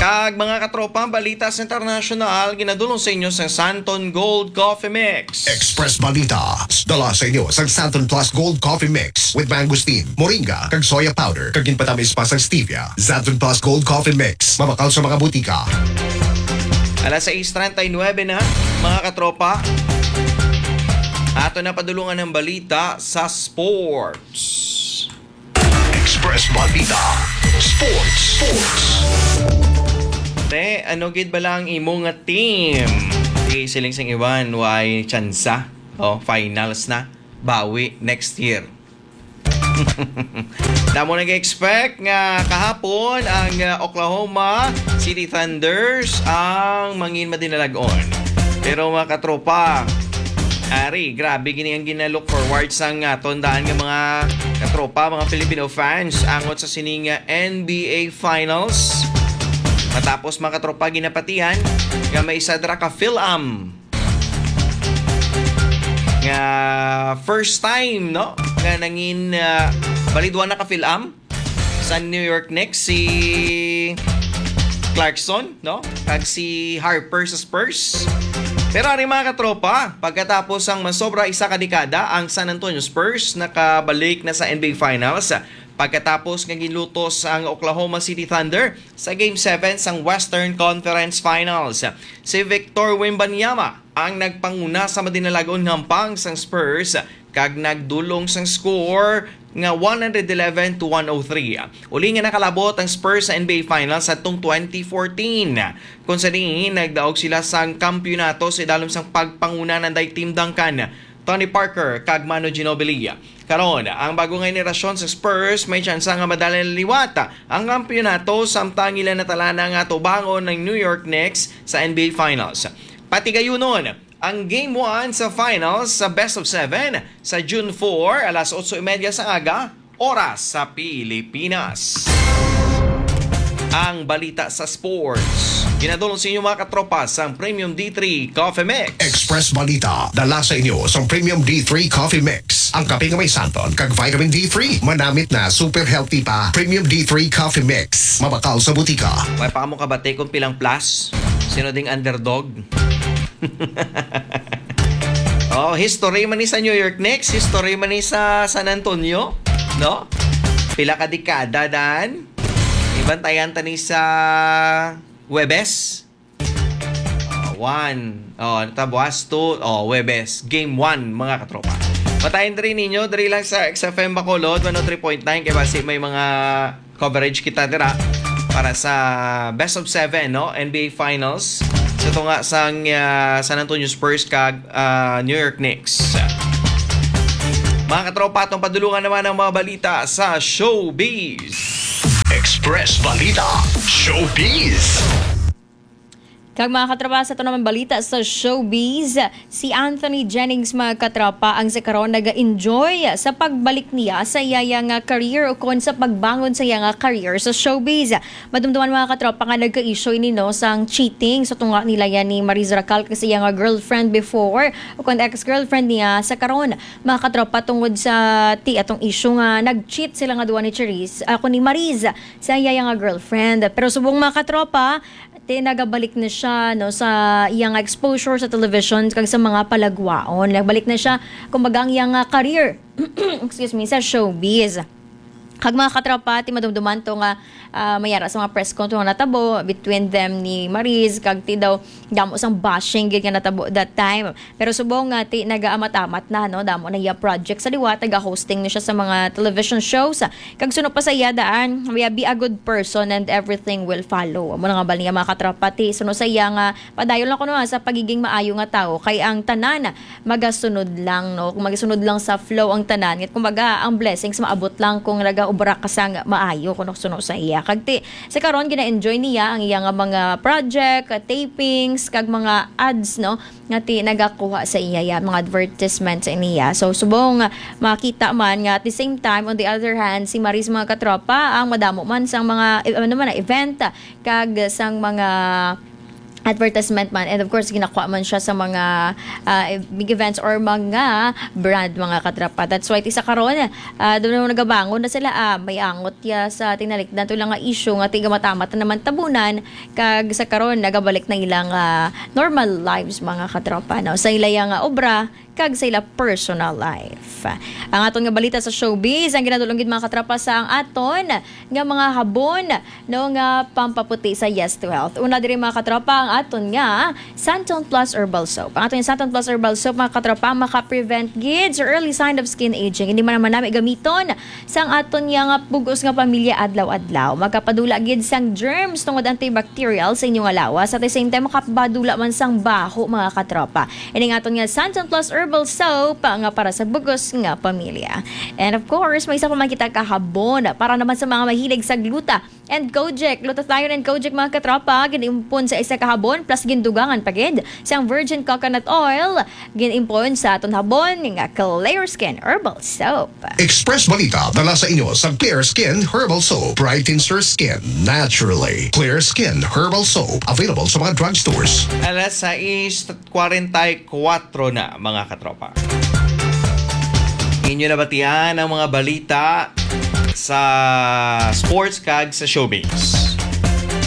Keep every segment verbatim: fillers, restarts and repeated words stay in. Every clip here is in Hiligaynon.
Kag mga katropa, balita sa international, ginadulong sa inyo sa Santon Gold Coffee Mix. Express Balita, dala sa inyo sa Santon Plus Gold Coffee Mix with mangosteen, moringa, kag soya powder, kag ginpatamis pa sang stevia. Santon Plus Gold Coffee Mix, mabakal sa mga butika. Alas sais treinta y nueve na, mga katropa. Ato na padulungan ang balita sa sports. Express Balita Sports. Sports. Te, ano gid bala ang imo nga team? Di siling sing iwan, way tsansa. Oh, finals na. Bawi next year. Damo nag-expect nga kahapon ang, uh, Oklahoma City Thunders ang mangin madinalag-on. Pero, mga katropa, ari, grabe gini ang gina-look forward sang aton daan nga mga katropa, mga Filipino fans, angot sa sining, uh, N B A Finals. Matapos, mga katropa, ginapatihan nga may isa dira ka Phil-Am nga first time, no, nga nangin, ah, bali duha na ka Phil-Am sa New York Knicks, si Clarkson, no, kag si Harper sa Spurs. Pero ari, mga katropa, pagkatapos ang masobra isa ka dekada, ang San Antonio Spurs nakabalik na sa N B A Finals pagkatapos nga ginlutos ang Oklahoma City Thunder sa Game seven sang Western Conference Finals. Si Victor Wembanyama ang nagpanguna sa madinalag-on nga hampang sang Spurs kag nagdulong sang score nga one hundred eleven to one oh three. Uli nga nakalabot ang Spurs sa N B A Finals sa tong twenty fourteen, kung sa diin nagdaog sila sang kampiyonato sa idalom sang pagpanguna nanday Tim Duncan, Tony Parker, kag Manu Ginobili. Karon, ang bago nga henerasyon sa Spurs may tsansa nga madala liwat ang kampiyonato, samtang ila natalana nga tubangon ang New York Knicks sa N B A Finals. Patigayunon ang Game one sa Finals sa Best of Seven sa June four, alas otso y media sa aga, oras sa Pilipinas. Ang balita sa sports, ginadulong sa inyo, mga katropa, sang Premium D three Coffee Mix. Express Balita, dala sa inyo sang Premium D three Coffee Mix. Ang kape nga may santon kag vitamin D three, manamit na, super healthy pa. Premium D three Coffee Mix, mabakal sa butika. Way pa mo kabati kung pilang plus? Sino ding underdog? Oh, history man ni sa New York Knicks, history man ni sa San Antonio, no? Pila ka dekada, Dan? Ibantayan ta ni sa Webes. Oh, one. Oh, ano ta, buwas? Two. Oh, Webes. Game one, mga katropa. Patayin diri ninyo, diri lang sa X F M Bacolod, one oh three point nine, kay basi may mga coverage kita dira para sa best of seven, no? N B A Finals. Sa tunga sang, ah, San Antonio Spurs kag, ah, New York Knicks. Mga katropa, atong padulungan naman ang mga balita sa showbiz. Express Balita Showbiz. Kag mga katropa, sa ito naman balita sa showbiz, si Anthony Jennings, mga katropa, ang sa karon naga-enjoy sa pagbalik niya sa iya nga career o kon sa pagbangon sa iya nga career sa showbiz. Madumduman, mga katropa, nga nagka-issue ini, no, sang cheating sa tunga nila yan ni Mariz Racal kag sa iya nga girlfriend before o kon ex-girlfriend niya sa karon, mga katropa, tungod sa ti atong issue nga nag-cheat sila nga duha ni Charisse, ako ni Mariz, sa iya nga girlfriend. Pero subong, mga katropa, ti nagabalik na siya, no, sa iya nga exposure sa television kag sa mga palagwaon. Nagbalik na siya, kumbaga, ang iya nga career, excuse me, sa showbiz. Kag mga katropa, ti madumduman to nga, ah, mayara sa mga press con to nga natabo between them ni Mariz, kag ti daw damo sang bashing gid nga natabo that time. Pero subong nga ti nagaamat-amat na, no, damo na iya project sa liwat, naga-hosting na siya sa mga television shows. Kag suno pa sa iya daan, "Be a good person and everything will follow." Amo na nga bal niya, mga katropa, ti suno sa iya nga padayon lang kuno, ah, sa pagiging maayo nga tawo, kay ang tanan magasunod lang, no? Kung magasunod lang sa flow ang tanan, kumbaga, ang blessings maabot lang kung nagaobra ka sang maayo, kuno suno sa iya. Kag ti, sa karon, gina-enjoy niya ang iya nga mga project, tapings, kag mga ads, no? Nga ti nagakuha sa iya, ya, mga advertisement sa niya. So, subong nga makita man nga at the same time, on the other hand, si Mariz, mga katropa, ang madamo man sang mga, eh, ano man, event, kag sang mga advertisement man, and of course ginakuha man siya sa mga ah, big events or mga brand, mga katropa. That's why ti sa karon, ah, doon na nagabangon na sila, ah, may angot ya sa tinalikdan to lang nga issue nga tigamatamat na naman tabunan, kag sa karon nagabalik na ilang ah, normal lives, mga katropa, no, sa ila nga obra kag sa ila personal life. Ang aton nga balita sa showbiz, ang ginadulong gid, mga katropa, sa ang aton nga mga habon, no, nga pampaputi sa Yes to Health. Una diri, mga katropa, ang aton nga Santon Plus Herbal Soap. Ang aton nga Santon Plus Herbal Soap, mga katropa, maka-prevent gid sa early sign of skin aging. Hindi man naman nami gamiton sang aton nga, nga bug-os nga pamilya adlaw-adlaw. Makapadula gid sang germs tungod antibacterial sa inyo nga lawas. At the same time, makapadula man sang baho, mga katropa. Ini nga aton nga Santon Plus Herbal Soap nga para sa bug-os nga pamilya. And of course, may isa pa man kita kahabon para naman sa mga mahilig sa gluta and Kojic. Glutathione and Kojic, mga katropa, giniimpon sa isa ka habon plus gindugangan pa gid sang virgin coconut oil. Giniimpon sa aton habon nga Clear Skin Herbal Soap. Express Balita dala sa inyo sa Clear Skin Herbal Soap. Brightens your skin naturally. Clear Skin Herbal Soap, available sa mga drugstores. Alas sais kwarenta y kuwatro na, mga katropa. Inyo nabatian ang mga balita sa sports kag sa showbiz.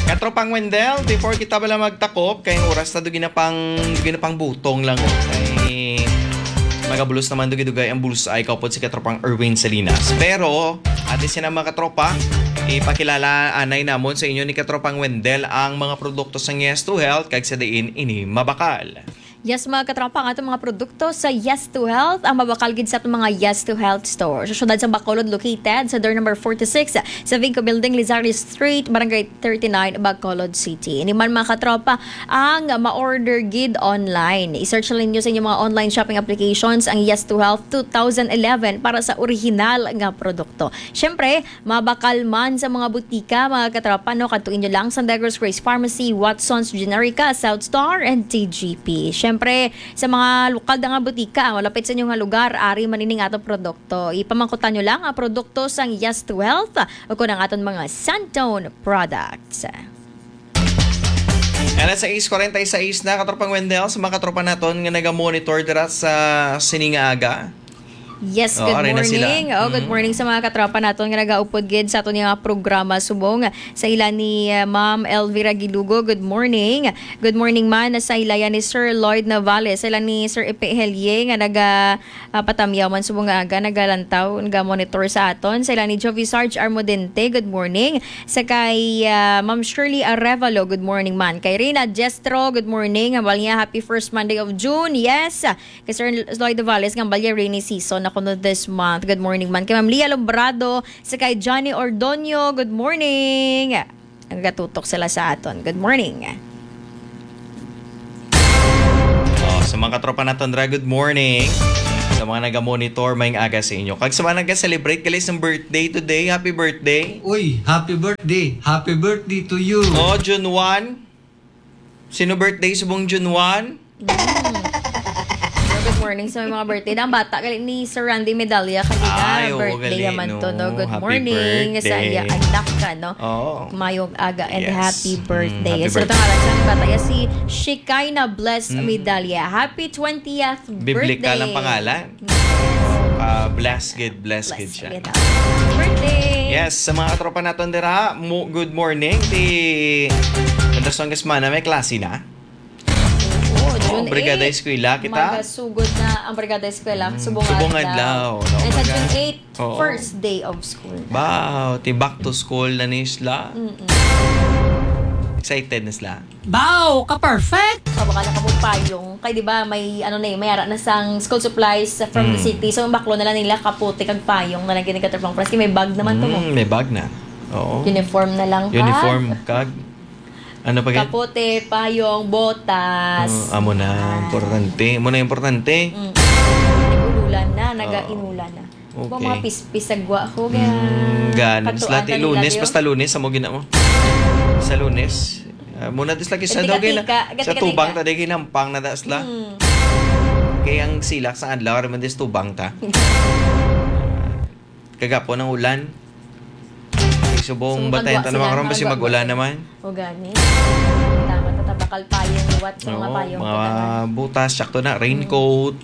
Katropang Wendell, before kita bala magtakop, kay ang oras na dugi na pang, dugi na pang butong lang. Ay, magabulos naman dugi-dugay ang bullseye kaupod si Katropang Erwin Salinas. Pero, ate sina, mga katropa, ipakilala anay namon sa inyo ni Katropang Wendell ang mga produkto sang Yes to Health kag sa diin ini mabakal. Yes, mga katropa, ang atong mga produkto sa Yes to Health, ang mabakal gid sa atong mga Yes to Health store. Sa siyudad sa Bacolod, located sa door number forty-six sa Vinco Building, Lizario Street, Barangay thirty-nine, Bacolod City. Ini man, mga katropa, ang ma-order gid online. I-search lang ninyo sa inyong mga online shopping applications ang Yes to Health two thousand eleven para sa original nga produkto. Siyempre, mabakal man sa mga butika, mga katropa, no? Kadtuin nyo lang sa Negros Grace Pharmacy, Watson's Generica, South Star, and T G P. Siyempre, sa mga lokal na nga butika, malapit sa inyong lugar, ari man ining atong produkto. Ipamangkutan nyo lang ang produkto sang Yes to Health o kung ang aton mga Santone products. Alas sais kwarenta y sais na, Katropang Wendell, sa mga katropa naton nga naga-monitor dira sa sini nga aga. Yes, Oh, good ari na sila. morning. Oh, good Mm. morning sa mga katropa naton nga nagaupod gid sa aton nga programa subong. Sa ila ni, uh, Ma'am Elvira Gilugo, good morning. Good morning man sa ila yan ni Sir Lloyd Navales, sa ila ni Sir Epe Helie nga naga, ah, patamyaw man subong nga aga, nagalantaw, naga-monitor sa aton. Sa ila ni Jovi Sarge Armodente, good morning. Sa kay, ah, Ma'am Shirley Arevalo, good morning man. Kay Rina Jestro, good morning. Hambal niya, happy first Monday of June. Yes, kay Sir Lloyd Davales nga balya rainy season na kuno this month. Good morning man kay Ma'am Lia Lombrado, sa kay Johnny Ordonio. Good morning. Nagatutok sila sa aton. Good morning. Oh, sa mga katropa naton dira, good morning. Sa mga naga-monitor, maayong aga sa inyo. Kag sa mga naga-celebrate gali sang birthday today, happy birthday. Uy, happy birthday. Happy birthday to you. Oh, June one. Sino birthday subong June one? Mm. Good morning sa mga birthday. Ang bata gali ni Sir Randy Medalla kanina. Ay, oo, birthday gali, naman to, no? no? Good Happy morning sa birthday. iya anak ka, no? Oo. Mayong aga and Yes. happy Mm, birthday. happy So, birthday. Ito nga lang, sa bata iya si Shekinah Bless Mm. Medalla. Happy twentieth Biblikal birthday. ang pangalan. Ah, bless gid, bless Bless gid siya. gid ang birthday. Yes, sa mga katropa naton dira, mo-, good morning. Ti Anderson Gasmana, may klase na? Oo, Oh, June Brigada eight. Eskwela kita? Magasugod na ang Brigada Eskwela. Mm, Subong subong adlaw. adlaw, no? And sa Maga- June eight, Oo. first day of school na. Wow, ti back to school na ni sila. Mm-mm. Excited na sila. Wow, ka-perfect! Sa baka na kamong payong. Kay di ba may ano na eh, may ara na sang school supplies from the Mm. city. So, ang baklo na lang nila kapote kag payong na lang gini, Katropang Franz. Kay may bag naman to mo. Mm, may bag na. Oo. Uniform na lang kag Uniform kag ano pa gid? Kapote, payong, botas. Oh, amo na, Ah. importante. Amo na importante. Mm. Nag-ululan na, Oo. nagainulan na. Okay. Ba, mga pispis sa gwa ko, Mm, kaya gani. Katuan Sila ti ta nila Lunes, diyo. basta Lunes, amo gina mo. Sa Lunes. Ah, muna dis lagi sa Gati-gati daw gina-, ka, sa gati-gati tubang ka. ta, di ginampang na das la. Mm. Kaya ang silak sa adlaw, raman dis tubang ta. Kagapon ang ulan. Ay, subong Subong batayan kagwa ta naman sila, karon, basi kagwa. mag-ulan naman. O gani. Tama to. Tabakal payong, liwat sa mga Oo, payong, mga tagaan. Butas, sakto na, raincoat.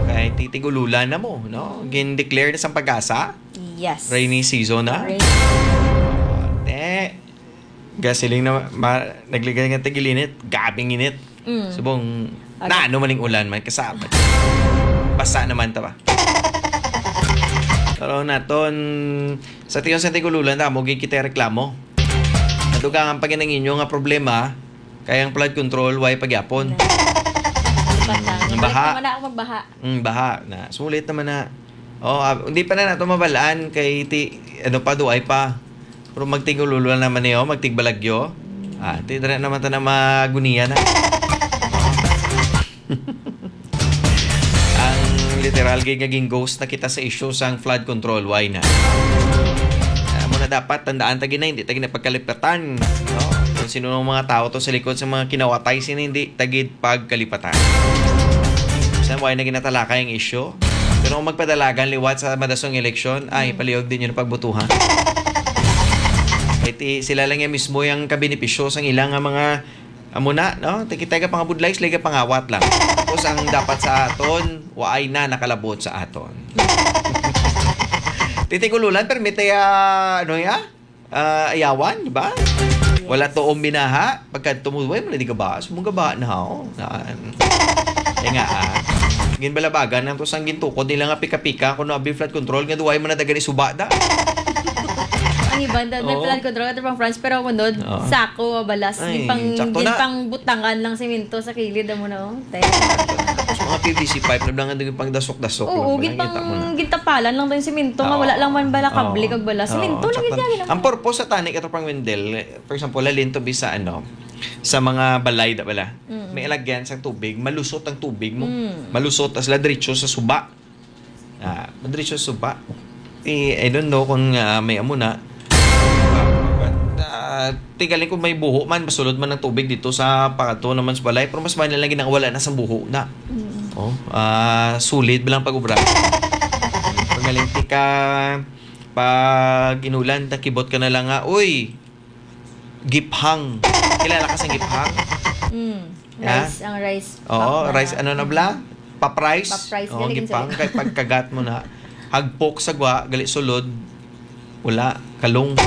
Kay titig-ululan na mo, no? Gin-declare na sa PAGASA, Yes. Rainy season na. Rainy. Te, gasoline na, ma-, nagligay nga tag-ilinit, gabing init. Mm. Subong, Okay. Na ano man ning ulan man, kasama. Basa naman ta ba? Pero naton, sa tion sa tig-ululan, damo gid kita reklamo. Nadugangan pa gid ang inyo nga problema, kay ang flood control, way pagyapon. Lipat na. Mm, baha. Balik naman na ako magbaha. Mm, baha na. Sulit naman na. Oh, ah, hindi pa na nato mabalaan kay ti-, ano pa, duay pa. Pero magtig-ululan naman niyo, magtigbalagyo. Ah, ti-, dira naman ta na maguniya na. Ang literal gid nga gin-ghost na kita sa issue sang flood control. Why na? Amo na dapat tandaan ta gid na, hindi ta gid na pagkalipatan, no? Kung sino ang mga tao to sa likod sa mga kinawatay sini, hindi ta gid pagkalipatan. Sa why na ginatalakay ang issue? Pero kung magpadalagan liwat sa madasong eleksyon, ay, palihog din yun ang pagbutuhan. Kay ti-, sila lang yan mismo yung kabenepisyo sang ilang nga mga amo na, no? Tikitay ka pangabudlay, sila ka pangawat lang. Tapos ang dapat sa aton, waay na nakalabot sa aton. Titig-ululan, permite, ah, ano ya? Ah, ayawan, di ba? Yes. Wala to ang binaha. Pagka tumuloy mo na di ka ba? Sumong ka ba na, oh? Naan. Kaya nga, ah. Ginbalabagan ang to sang gintukod nila nga pika-pika kung no abi flood control nga duway man na dagan isuba da. Ang iban, da-, may Oo. Flood control, ito pang France, pero ang unod, Oo. Sako, balas, Ay, gin pang, sakto gin na. Pang butangan lang simento sa kilid, amo na, oh. Te. Tapos mga P V C pipe na lang ang pang dasok-dasok. Oo, lang, gin pang, kita mo na. Gintapalan lang to yung simento, nga Oo. Wala lang man bala kable Oo. Kag bala. Oo. Simento lang Sakto. Gid yan, Ang purpose sa tani, katropang Wendell, for example, halin to bi sa, ano, sa mga balay, da bala. Mm. May alagyan sa tubig, malusot ang tubig mo. Mm. Malusot, tas la diretso sa suba. Ah, madiretso sa suba. Eh, I don't know kung, ah, may amo na. Ah, tigaling kung may buho man, masulod man ang tubig dito sa pangadto naman sa balay, pero mas mahal lang ginawala na sa buho na. Mm. Oh, ah, sulit bilang pag-ubra. Pagaling tika, pag inulan, takibot ka na lang nga, "Uy, giphang." Kilala ka sa giphang? Mm. Ha? Rice, ang rice. Oo, pap na rice, na. Ano na bala? Pap rice? Pap rice, Oo, galing gipang, sa kay pagkagat mo na. Hagpok sa gwa, gali sulod. Wala, kalong.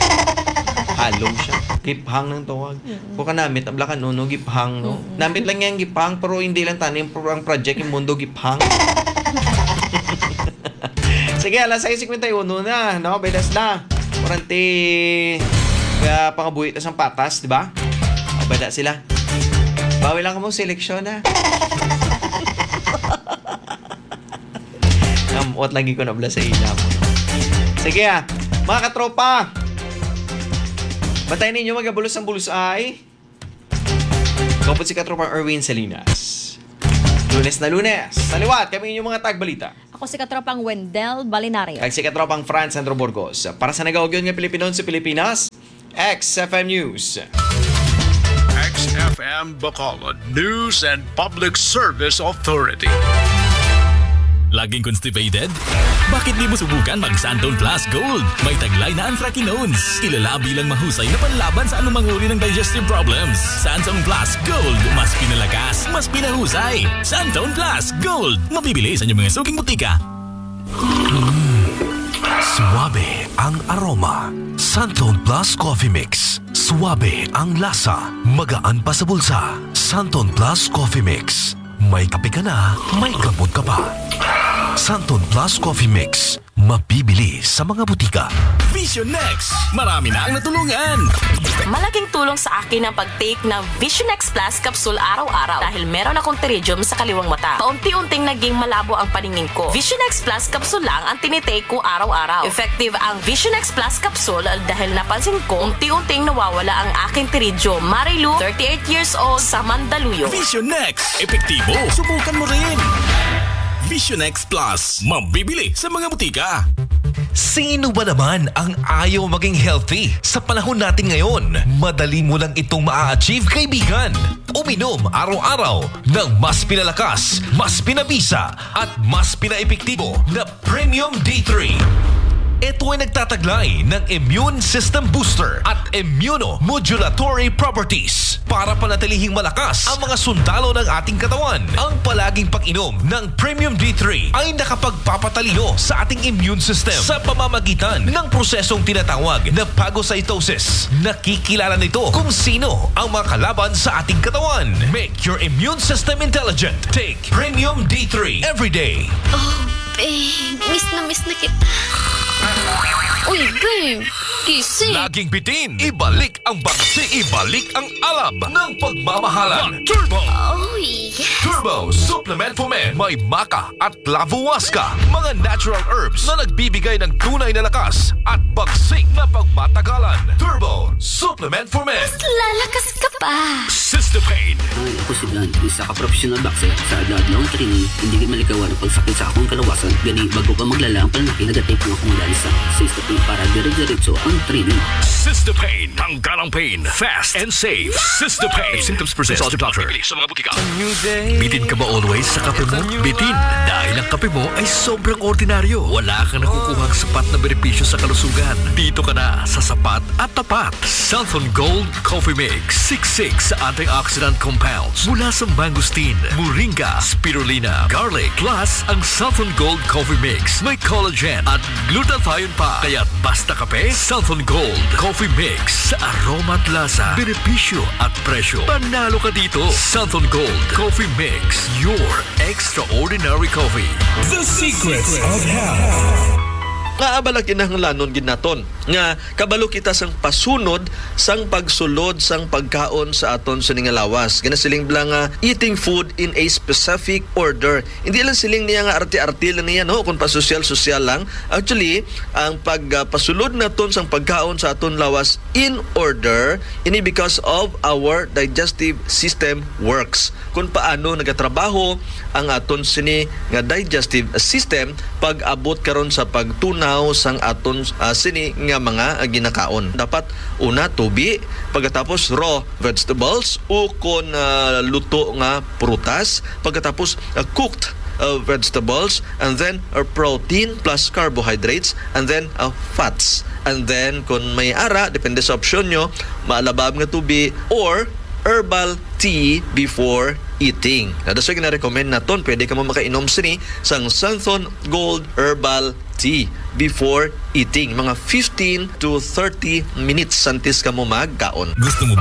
Hollow siya. Giphang ng tawag. Mm-mm. Kung kanamit, abla ka, no, no, giphang, no? Mm-mm. Namit lang yan, giphang, pero hindi lang tanim, pero ang project, yung mundo, giphang. Sige, alas sais cincuenta y uno na, no? Bedas na. Kurante, kaya pangabuhi ta sang patas, di ba? Mabada sila. Bawi lang kamo sa eleksyon, ha? Ngamot lagi ko na bala sa ila mo. Sige, ah. Mga katropa, bantay ninyo, magabulos ang bulos ay. Ako po si Katropang Erwin Salinas. Lunes na Lunes. Sa liwat, kami inyong mga tagbalita. Ako si Katropang Wendell Balinario. Kag si Katropang Franz Sandro Burgos. Para sa nagaugyon nga Pilipinon sa Pilipinas, X F M News. X F M Bacolod News and Public Service Authority. Laging constipated? Bakit di mo subukan mag Santon Plus Gold? May taglay na anthracanones. Kilala bilang mahusay na panlaban sa anumang uri ng digestive problems. Santon Plus Gold, mas pinalakas, mas pinahusay. Santon Plus Gold, mabibili sa inyong mga suking butika. Mm. Suabe ang aroma. Santon Plus Coffee Mix. Suabe ang lasa. Magaan pa sa bulsa. Santon Plus Coffee Mix. May kape ka na, may gamot ka pa. Santon Plus Coffee Mix. Mabibili sa mga butika. Vision X. Marami na ang natulungan. Malaking tulong sa akin ang pag-take ng Vision X Plus capsule araw-araw dahil meron akong pterygium sa kaliwang mata. Paunti-unting naging malabo ang paningin ko. Vision X Plus capsule lang ang tinitake ko araw-araw. Effective ang Vision X Plus capsule dahil napansin ko unti-unting nawawala ang aking pterygium. Marilu, thirty-eight years old, sa Mandaluyong. Vision X. Epektibo. Subukan mo rin. Vision X Plus. Mabibili sa mga butika. Sino ba naman ang ayaw maging healthy sa panahon natin ngayon? Madali mo lang itong maa-achieve, kaibigan. Uminom araw-araw ng mas pinalakas, mas pinabisa, at mas pinaepektibo na Premium D three. Ito ay nagtataglay ng immune system booster at immunomodulatory properties. Para panatilihing malakas ang mga sundalo ng ating katawan, ang palaging pag-inom ng Premium D three ay nakapagpapatalino sa ating immune system sa pamamagitan ng prosesong tinatawag na phagocytosis. Nakikilala nito kung sino ang mga kalaban sa ating katawan. Make your immune system intelligent. Take Premium D three every day. Oh, babe. Miss na miss na kita. Uy, babe. Gising. Laging bitin. Ibalik ang bagsi. Ibalik ang alab ng pagmamahalan. Turbo! Oh, yes. Turbo Supplement for Men. May maca at lavuasca. Mga natural herbs na nagbibigay ng tunay na lakas at bagsik na pagmatagalan. Turbo Supplement for Men. Lalakas ka pa. Sister Pain. Ay, ako si Dan, isa ka professional boxer. Sa adlaw-adlaw nga training, hindi gid malikawan ang pagsakit sa akong kalawasan. Gani, bago pa maglala ang pananakit, nagatape ang akong lansa. Sa step para dire-diretso ang training. Sister Pain. Tanggal ang pain. Fast and safe. Sister Pain. If symptoms persist, consult your doctor. Sa mga butika. Bitin ka ba always sa kape mo? Bitin. Dahil ang kape mo ay sobrang ordinaryo. Wala kang nakukuhang sapat na benepisyo sa kalusugan. Dito ka na sa sapat at tapat. Santhon Gold Coffee Mix. Siksik sa antioxidant compounds mula sa mangosteen, moringa, spirulina, garlic. Plus, ang Santhon Gold Coffee Mix may collagen at glutathione pa. Kaya't basta kape, Santhon Gold Coffee Mix. Sa aroma at lasa, benepisyo at presyo, panalo ka dito. Santhon Gold Coffee Mix, your extraordinary coffee. The Secrets of Health. Nga abala kinahanglanon gid naton nga kabalo kita sang pasunod sang pagsulod sang pagkaon sa aton sini nga lawas. Ginasiling bala nga eating food in a specific order. Hindi lang siling niya nga arte-arte lang niya, no, kung pasosyal-sosyal lang. Actually, ang pagpasulod naton sang pagkaon sa aton lawas in order ini because of our digestive system works. Kung paano nagatrabaho ang aton sini nga digestive system pag-abot karon sa pagtunaw sang aton ah, sini nga mga ah, ginakaon. Dapat una tubi, pagkatapos raw vegetables o kon ah, luto nga prutas, pagkatapos ah, cooked ah, vegetables, and then ah, protein plus carbohydrates, and then ah, fats. And then kung may ara, depende sa opsyon nyo, maalabab nga tubi or herbal tea before eating. Na dasoy gina-recommend naton, pwede ka mo makainom sini sang Santhon Gold Herbal Tea before eating. Mga fifteen to thirty minutes antes ka mo magkaon. Gusto mo